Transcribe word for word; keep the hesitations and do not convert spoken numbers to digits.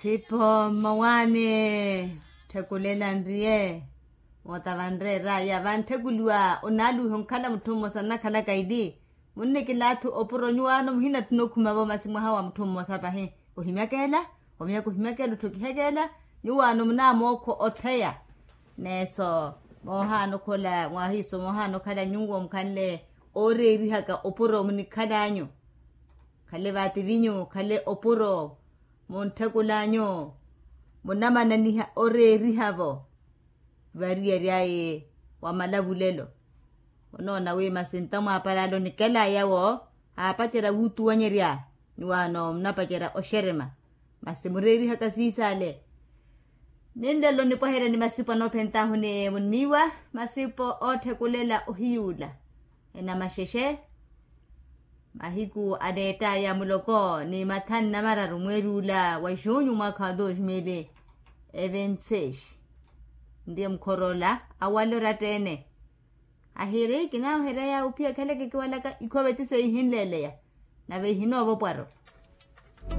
Sipo mmawaani. Tthekulela nriye moota vanreera ya vanthekuliwa onaaluwiha onkhala mutthu mmosa nnakhalaka ili. Munnikilaathu opuro nyuwaano muhinatthuna okhumavo masi mwaha wa mutthu mmosa pahi. Ohimyaka ela omyaka ohimyaka ela otthu kihekeela. Nyuwaano munaamookho otheya neeso moohaana okhola mwahiiso moohaana okhala nyuwo mukhanle ooreerihaka opuro munikhalanyu. Khale vaativinyu khale opuro muntthekulanyu munamananiha oreeriha-vo. Variyari aye wa malavulelo onoona wi masinta mwaapalala onikelaya-wo aapacerya wuutuwanyerya. Nyuwaano munapacerya oxerema masi mureerihaka siisale. Ninlelo nipwaherya ni masipo anoophentaahu ni munniiwa masipo ootthekulela ohiyuula enamaxexe. Mahiku aneettaya muloko ni mathanu na mararu mweeri ula wa junyu mwaakha wa dos mil e ventiseis. Nriye mukhoroola awale oratta-ene ahiri kinaaherya yawe ophiya khaleke kiwalaka ikhove ti seihinleeleya nave ihinoova opwaro.